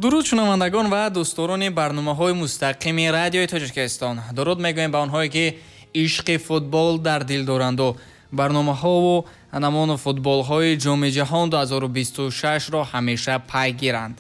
Дуруд шунавандагон ва дӯстдорони барномаҳои мустақими радиои Тоҷикистон. Дуруд мегӯем ба онҳое, ки ишқи футбол дар дил доранду барномаҳову анамон футболҳои Ҷоми ҷаҳон 2026-ро ҳамеша пайгиранд.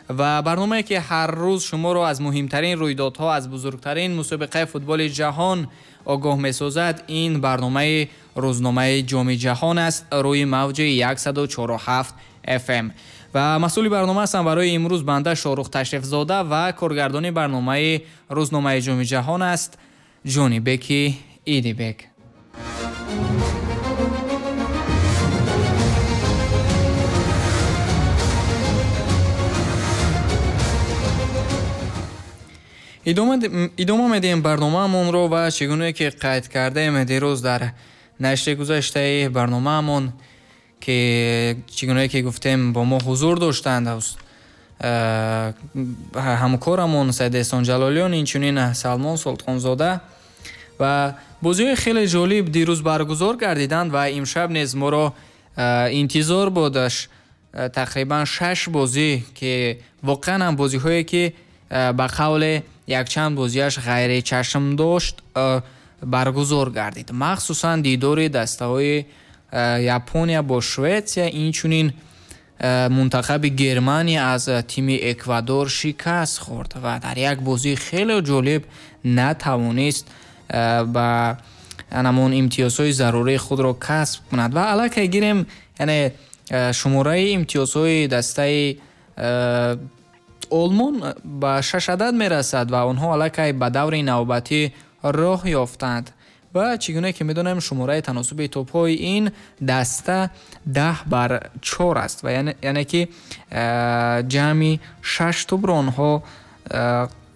Ва барномае, ки ҳар рӯз шуморо аз муҳимтарин рӯйдодҳо, аз бузургтарин мусобиқаи футболи ҷаҳон огоҳ месозад, ин барномаи рӯзномаи Ҷоми ҷаҳон аст рӯи мавҷи 104,7 FM. Ва масъули барнома ҳастам барои имрӯз банда Шоҳрух Ташрифзода ва коргардони барномаи рӯзномаи Ҷоми ҷаҳон аст Ҷонибеки Идибек. Идома медиҳем барномаамонро ва чӣ гуна ки қайд кардаем дирӯз дар нашри гузаштаи барномаамон, ки чӣ гуна ки гуфтем бо мо ҳузур доштанд ҳамкорамон Саид Эҳсон Ҷалолиён, инчунин Салмон Султонзода. Ва бозиҳои хеле ҷолиб дирӯз баргузор гардиданд ва имшаб низ моро интизор будаш тақрибан 6 бозӣ, ки воқеан ҳам бозиҳое ки ба қавле якчанд бозиаш ғайричашм дошт баргузор гардид. Махсусан дидори дастаҳои Япония бо Шветсия, инчунин мунтахаби Германия аз тими Эквадор шикаст хӯрд ва дар як бозии хеле ҷолиб натавонист ба ҳамон имтиёзҳои зарурии худро касб кунад. Ва аллакай гирем, яъне шумораи имтиёзҳои дастаи Олмон ба 6 адад мерасад ва онҳо аллакай ба даври навбатӣ роҳ ёфтанд. Ва чӣ гуна ки медонем, шумораи таносуби топҳои ин даста 10-4 аст ва яъне ки ҷамъи 6 топро онҳо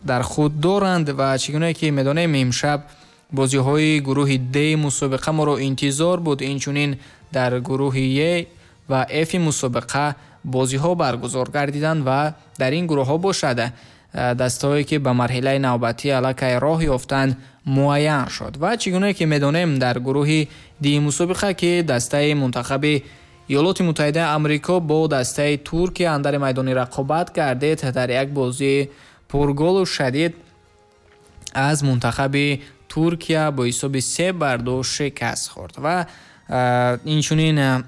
дар худ доранд. Ва чӣ гуна ки медонем, имшаб бозиҳои гурӯҳи Д мусобиқа моро интизор буд. Инчунин дар гурӯҳи Е ва Ф мусобиқа бозиҳо баргузор гардиданд ва дар ин гурӯҳҳо бошад дастаҳое ки ба марҳилаи навбатӣ аллакай роҳ ёфтанд муайян шуд. Ва чӣ гуна ки медонем, дар гурӯҳи Д мусобиқа, ки дастаи мунтахаби Иёлоти Муттаҳидаи Амрико бо дастаи Туркия андари майдони рақобат гардид, дар як бозии пурголу шадид аз мунтахаби Туркия бо ҳисоби 3-2 шикаст хӯрд. Ва инчунин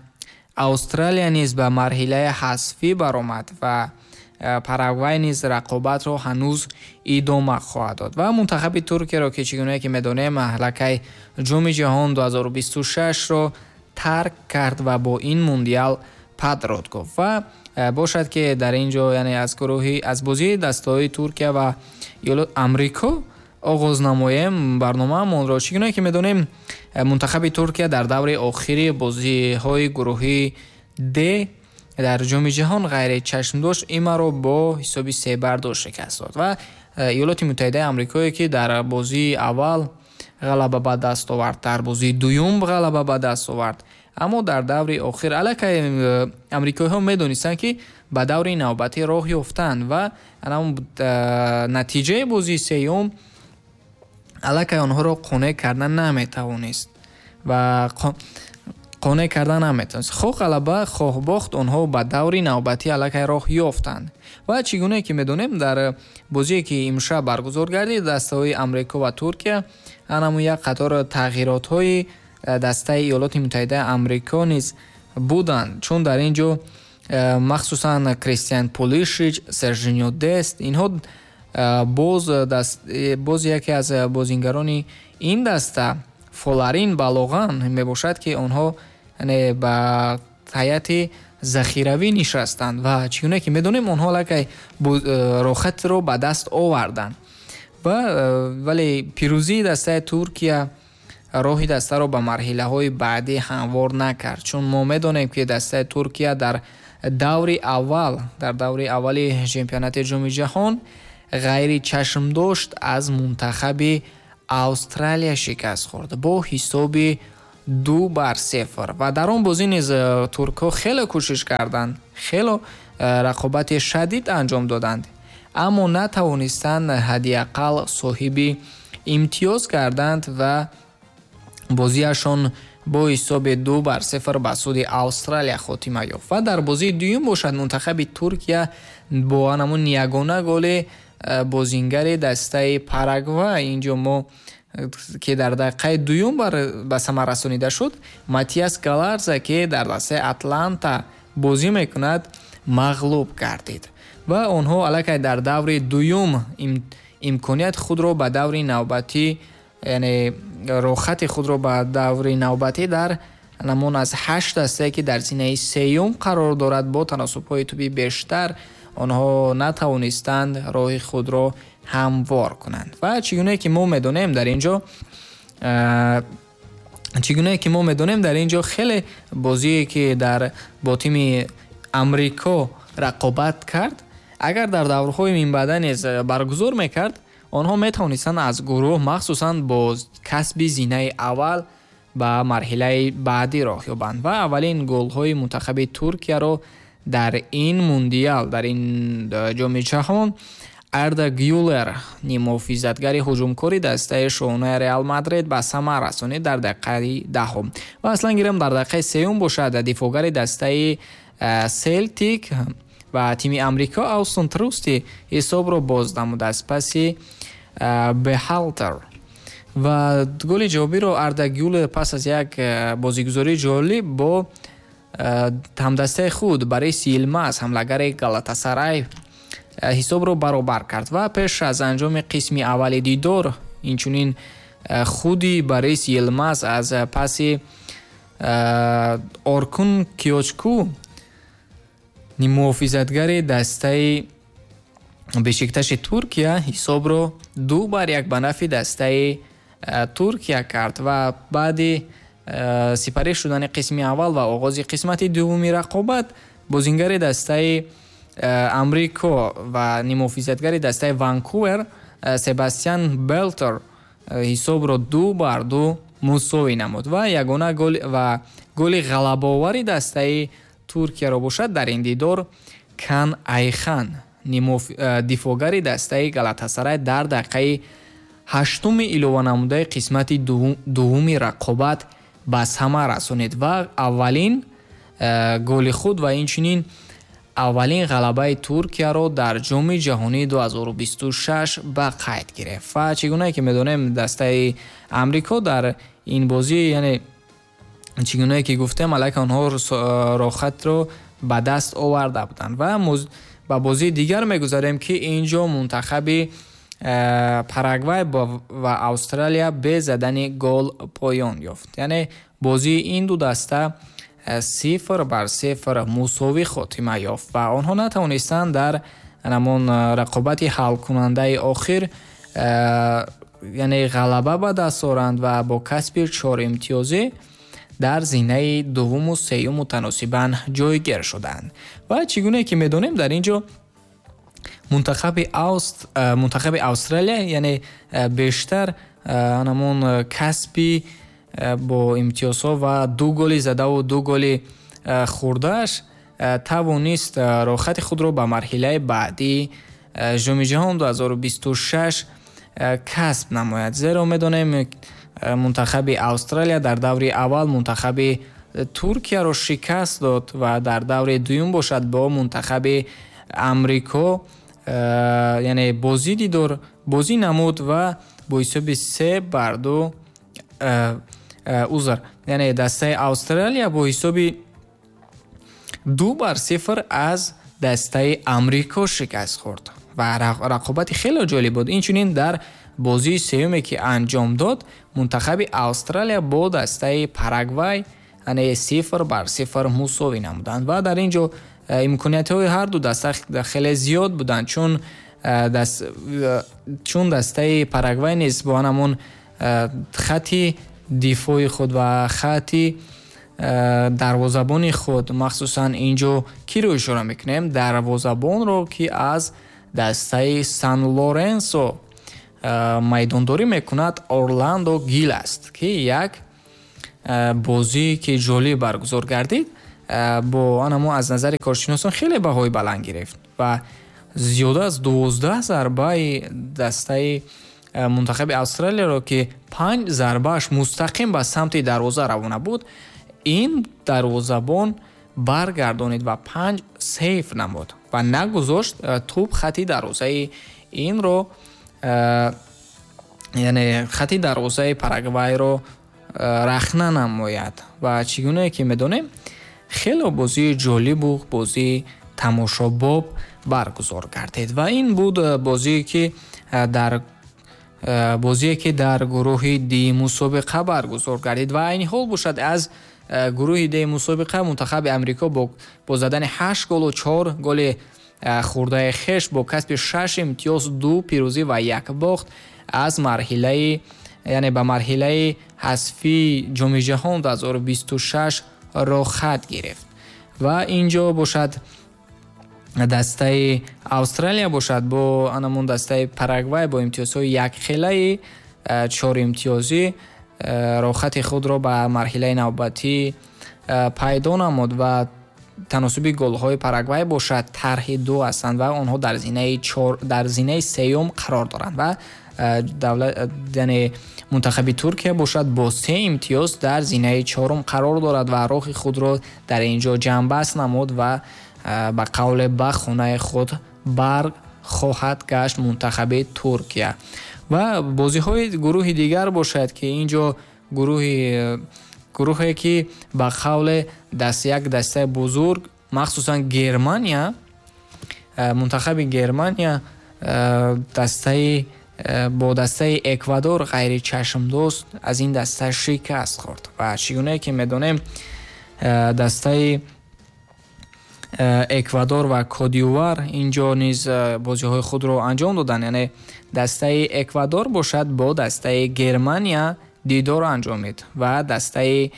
Австралия низ ба марҳилаи ҳазфӣ баромад ва Парагвай низ рақобатро ҳанӯз идома хоҳад дод. Ва мунтахаби Туркияро, ки чӣ гуна ки медонем, аллакай Ҷоми ҷаҳон 2026-ро тарк кард ва бо ин мундиал падрод гуфт. Ва бошад ки дар ин ҷо, яъне аз гурӯҳи аз бозии дастаҳои Туркия ва Амрико оғоз намоем барномаамонро. Чӣ гуна ки медонем, мунтахаби Туркия дар даври охири бозиҳои гурӯҳи Д дар Ҷоми ҷаҳон ғайричашмдошт имаро бо ҳисоби 3-2 шикаст дод. Ва Иёлоти Муттаҳидаи Амрикое, ки дар бозии аввал ғалаба ба даст овард, дар бозии дуюм ғалаба ба даст овард, аммо дар даври охир аллакай амрикоиҳо медонистанд, ки ба даври навбатӣ роҳ ёфтанд ва натиҷаи бозии сеюм аллакай онҳоро қонеъ кардан наметавонист ва қонеъ кардан наметавонист. Хоҳ ғалаба, хоҳ бохт, онҳо ба даври навбатӣ аллакай роҳ ёфтанд. Ва чӣ гуна ки медонем, дар бозие ки имшаб баргузор гардид, дастаҳои Амрико ва Туркия анаму як қатор тағйиротҳои дастаи Иёлоти Муттаҳидаи Амрико низ буданд, чун дар ин ҷо махсусан Кристиан Пулишич, Сержино Дест, инҳо боз яке аз бозингарони ин даста Фоларин Балоған мебошад, ки онҳо ба ҳайати захиравӣ нишастанд ва чӣ гуна ки медонем, онҳо аллакай рохатро ба даст оварданд. Вале пирӯзии дастаи Туркия роҳи дастаро ба марҳилаҳои баъдӣ ҳамвор накард, чун мо медонем, ки дастаи Туркия дар даври аввал, дар даври аввали чемпионати Ҷоми ҷаҳон ғайричашмдошт аз мунтахаби Австралия шикаст хӯрд бо ҳисоби 2-0. Ва дар он бозӣ низ туркҳо хеле кӯшиш карданд, хеле рақобати шадид анҷом доданд, аммо натавонистанд ҳадди ақал соҳиби имтиёз гарданд ва бозиашон бо ҳисоби 2-0 ба суди Австралия хотима ёфт. Ва дар бозии дуюм бошад, мунтахаби Туркия бо ҳамон ягона голи бозингари дастаи Парагвай, инҷо мо ки дар дақиқаи дуюм ба самар расонида шуд, Матиас Галарза, ки дар дастаи Атланта бозӣ мекунад, мағлуб гардид. Ва онҳо аллакай дар даври дуюм имконият худро ба даври навбатӣ, яъне роҳхати худро ба даври навбатӣ дар намон аз 8 дастае, ки дар зинаи сеюм қарор дорад, бо таносубҳои тӯби бештар онҳо натавонистанд роҳи худро ҳамвор кунанд. Ва чигунае ки мо медонем дар инҷо, чигунае ки мо медонем дар инҷо хеле бозие ки дар бо тими Амрико рақобат кард, агар дар даврҳои минбаъда низ баргузор мекард, онҳо метавонистанд аз гурӯҳ махсусан бо касби зинаи аввал ба марҳилаи баъдӣ роҳ ёбанд. Ва аввалин голҳои мунтахаби Туркияро дар ин мундиал, дар ин ҷоми ҷаҳон Арда Гюлер, ниммуҳофизатгари ҳуҷумкори дастаи шоҳонаи Реал Мадрид, ба самар расонид дар дақиқаи 10. Ва аслан гирем, дар дақиқаи сеюм бошад, дифоъгари дастаи Селтик ва тими Амрико Аустон Трусти ҳисобро боз намуд аз паси Бехалтер. Ва голи ҷавобиро Арда Гюлер пас аз як бозигузории ҷолиб бо ҳамдастаи худ Борис Йилмаз, ҳамлагари Галатасарай, ҳисобро баробар кард. Ва пеш аз анҷоми қисми аввали дидор инчунин худи Борис Йилмаз аз паси Оркун Киочку, ниммуҳофизатгари дастаи Бешикташи Туркия, ҳисобро 2-1 ба нафъи дастаи Туркия кард. Ва баъди сипарӣ шудани қисми аввал ва оғози қисмати дуввуми рақобат, бозингари дастаи Амрико ва ниммуҳофизатгари дастаи Ванкувер Себастьян Белтер ҳисобро 2-2 мусовӣ намуд. Ва ягона гол ва голи ғалабаовари дастаи Туркияро бошад дар ин дидор Кан Айхан, дифоъгари дастаи Галатасарай, дар дақиқаи 8-уми илованамудаи қисмати дуввуми рақобат ба самар расонид ва аввалин голи худ ва инчунин аввалин ғалабаи Туркияро дар ҷоми ҷаҳонии 2026 ба қайд гирифт. Ва чӣ гунае ки медонем, дастаи Амрико дар ин бозӣ, яъне чӣ гунае ки гуфтем, аллакай онҳо роҳхатро ба даст оварда буданд. Ва ба бозии дигар мегузарем, ки инҷо мунтахаби Парагвай ва Австралия бе задани гол поён ёфт. Яъне бозии ин ду даста 0-0 мусовӣ хотима ёфт ва онҳо натавонистанд дар ҳамон рақобати ҳалкунандаи охир, яъне ғалаба ба даст оранд ва бо касби 4 имтиёзӣ дар зинаи дуввуму сеюм мутаносибан ҷойгир шуданд. Ва чӣ гунае ки медонем, дар ин ҷо мунтахаби Австралия, яъне бештар ҳамон касби бо имтиёзҳо ва 2 голи задаву 2 голи хурдааш тавонист роҳхати худро ба марҳилаи баъдии ҷоми ҷаҳон 2026 касб намояд. Зеро медонем, мунтахаби Австралия дар даври аввал мунтахаби Туркияро шикаст дод ва дар даври дуюм бошад бо мунтахаби Амрико, яъне бозӣ дидор бозӣ намуд ва бо ҳисоби 3-2, узр, яъне дастаи Австралия бо ҳисоби 2-0 аз дастаи Амрико шикаст хӯрд ва рақобати хеле ҷолиб буд. Инчунин дар бозии сеюме ки анҷом дод, мунтахаби Австралия бо дастаи Парагвай, яъне 0-0 мусовӣ намуданд. Ва дар ин ҷо имкониятҳои ҳар ду даста хеле зиёд буданд, чун дастаи Парагвай низ бо ҳамон хати дифои худ ва хати дарвозабони худ, махсусан инҷо киро ишора мекунем, дарвозабонро, ки аз дастаи Сан Лоренсо майдондорӣ мекунад, Орландо Гил аст, ки як бозӣ ки ҷолиб баргузор гардид, бо анамо аз назари коршиносон хеле баҳои баланд гирифт ва зиёда аз 12 зарбаи дастаи мунтахаби Австралияро, ки 5 зарбааш мустақим ба самти дарвоза равона буд, ин дарвозабон баргардонид ва 5 сейф намуд ва нагузошт тӯб хати дарвозаи инро, яъне хати дарвозаи Парагвайро рахна намояд. Ва чӣ гунае ки медонем, хеле бозии ҷолибу бозии тамошобоб баргузор гардид. Ва ин буд бозие ки дар бозие ки дар гурӯҳи Д мусобиқа баргузор гардид. Ва айни ҳол бошад, аз гурӯҳи Д мусобиқа мунтахаби Амрико бо задани 8 голу 4 голи хурдаи хеш бо касби 6 имтиёз, 2 пирӯзӣ ва 1 бохт аз марҳилаи, яъне ба марҳилаи ҳазфии Ҷоми ҷаҳон 2026 роҳхат гирифт. Ва инҷо бошад, дастаи Австралия бошад бо анамон дастаи Парагвай бо имтиёзҳои якхелаи 4 имтиёзӣ роҳхати худро ба марҳилаи навбатӣ пайдо намуд ва таносуби голҳои Парагвай бошад тарҳи 2 ҳастанд ва онҳо дар зинаи 4, дар зинаи сеюм қарор доранд. Ва яъне мунтахаби Туркия бошад бо 3 имтиёз дар зинаи чорум қарор дорад ва роҳи худро дар ин ҷо ҷамъбаст намуд ва ба қавле ба хонаи худ бар хоҳад гашт мунтахаби Туркия. Ва бозиҳои гурӯҳи дигар бошад, ки ин ҷо гурӯҳе ки ба қавле як дастаи бузург, махсусан Германия, мунтахаби Германия дастаи бо дастаи Эквадор ғайричашмдост аз ин даста шикаст хӯрд. Ва чӣ гунае ки медонем, дастаи Эквадор ва Кодивуар инҷо низ бозиҳои худро анҷом доданд. Яъне дастаи Эквадор бошад бо дастаи Германия дидор анҷомид ва дастаи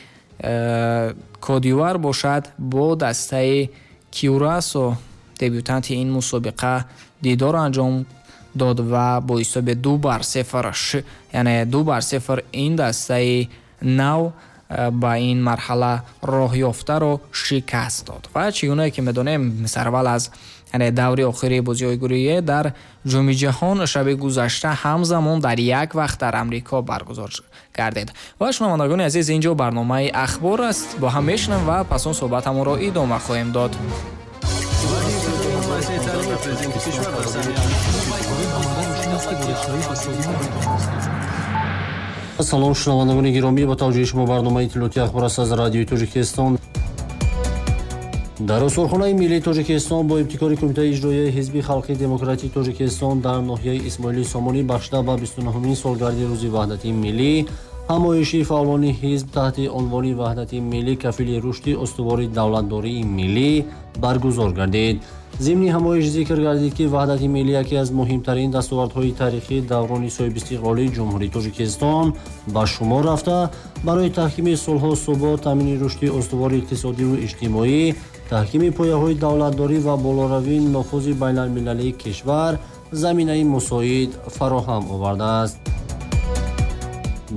Кодивуар бошад бо дастаи Кюрасо, дебютанти ин мусобиқа, дидор анҷом дод ва бо ҳисоби 2-0, яъне 2-0 ин дастаи нав ба ин марҳала роҳ ёфтаро шикаст дод. Ва чӣ гунае ки медонем, сарвал аз, яъне даври охири бозиҳои гурӯҳие дар Ҷоми ҷаҳон шаби гузашта ҳамзамон дар як вақт дар Амрико баргузор гардид. Ва шунавандагони азиз, инҷо барномаи Ахбор аст, бо ҳам мешунавем ва пас он суҳбатамонро идома хоҳем дод. Салом, шунавандагони гиромӣ, ба таваҷҷӯҳи шумо барномаи иттилоотии Ахбор аст аз Радиои Тоҷикистон. Дар Осорхонаи миллии Тоҷикистон бо ибтикори Кумитаи иҷроияи Ҳизби халқии демократии Тоҷикистон дар ноҳияи Исмоили Сомонӣ бахшида ба 29-умин солгарди Рӯзи ваҳдати миллӣ ҳамоиши фаъолони ҳизб таҳти унвони Ваҳдати миллӣ кафили рушди устувори давлатдории миллӣ баргузор гардид. Зимни ҳамоиш зикр гардид, ки ваҳдати миллӣ яке аз муҳимтарин дастовардҳои таърихии даврони соҳибистиқлолии Ҷумҳурии Тоҷикистон ба шумор рафта, барои таҳкими сулҳу субот, таъмини рушди устувори иқтисодиву иҷтимоӣ, таҳкими пояҳои давлатдорӣ ва болоравии нуфузи байналмилалии кишвар заминаи мусоид фароҳам овардааст.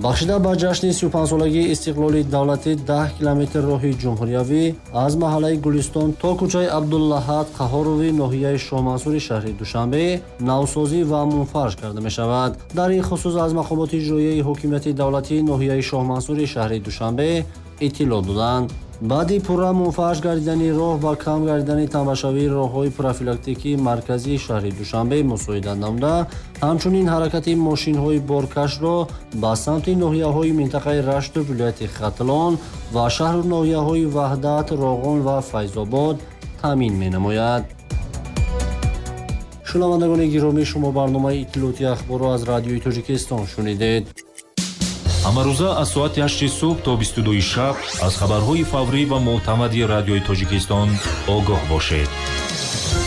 Бахшида ба ҷашни 35-солагии истиқлоли давлатӣ 10 километр роҳи ҷумҳуриявӣ аз маҳаллаи Гулистон то кӯчаи Абдуллаҳад Қаҳҳорови ноҳияи Шоҳмансури шаҳри Душанбе навсозӣ ва мунфарш карда мешавад. Дар ин хусус аз мақомоти иҷроияи ҳокимияти давлатии ноҳияи Шоҳмансури шаҳри Душанбе иттилоъ доданд. Баъди пурра мунфарш гардидани роҳ ва кам гардидани тамбашавии роҳҳои профилактикии марказии шаҳри Душанбе мусоидат намуда, ҳамчунин ҳаракати мошинҳои боркашро ба самти ноҳияҳои минтақаи Рашту вилояти Хатлон ва шаҳру ноҳияҳои Ваҳдат, Роғон ва Файзобод таъмин менамояд. Шунавандагони гиромӣ, шумо барномаи иттилоотии Ахборро аз Радиои Тоҷикистон шунидед. Ҳамарӯза аз соати 8 субҳ то 22 шаб аз хабарҳои фаврӣ ва мӯътамади Радиои Тоҷикистон огоҳ бошед.